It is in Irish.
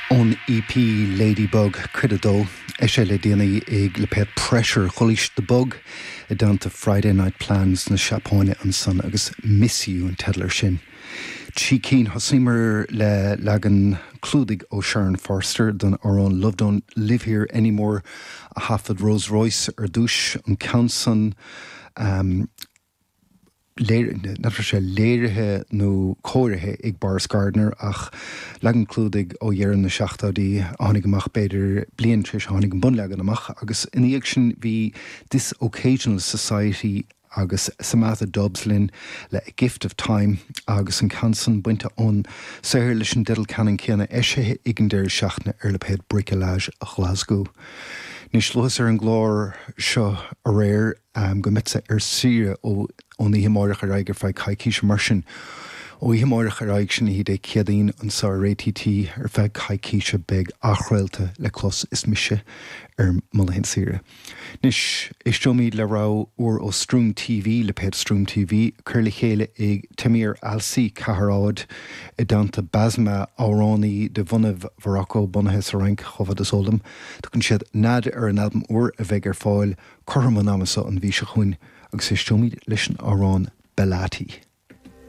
Ón EP Ladybug, Cuid 2, eisithe le déanaí ag lipéad Pressure, Chualaís The Bug i dteannta Friday Night Plans na Seapáine ansan agus Miss You an teideal air sin. Trí cinn, thosaíomar le leagan clúdaigh ó Sharon Forrester don amhrán Love Don't Live Here Anymore a thaifead Rose Royce ar dtús, an ceann san, n'fheadar raibh sé léirithe nó cóirithe ag Boris Gardiner ach leagan clúdaigh ó dheireadh na seachtóidí a tháinig amach b'fhéidir bliain tar éis a tháinig an bunleagan amach agus ina dhiaidh sin bhí This Occasional Society agus Samatha Dubs linn le A Gift of Time agus an ceann san bainte ón saothar leis an dteideal ceannann céanna eisithe ag an deireadh seachtaine ar lipéad Bricolage Ghlaschú. Anois luas ar an gclár seo aréir. go mbeadsa ar saoire ón oíche amáireach ar aghaidh ar feadh coicíse. Mar sin, ó oíche amáireach ar aghaidh, sin oíche Dé Céadaoin, anseo ar ATT ar feadh coicíse beidh athchraolta le clos is mise ar mo laethanta saoire. Anois, éisteoimid le rogha úr ó Stroom TV, lipéad Stroom TV, curtha le chéile ag Tamir Alsi, Cathair Ard, i dteannta Basma, amhránaí de bhunaibh Mhorocco, bunaithe sa Fhrainc, chomh fada is eol dom. Tugann siad Nead ar an albam úr a bheidh ar fáil Cothrom an ama seo an mhí seo chugainn agus éisteoimid leis an amhrán Bellati.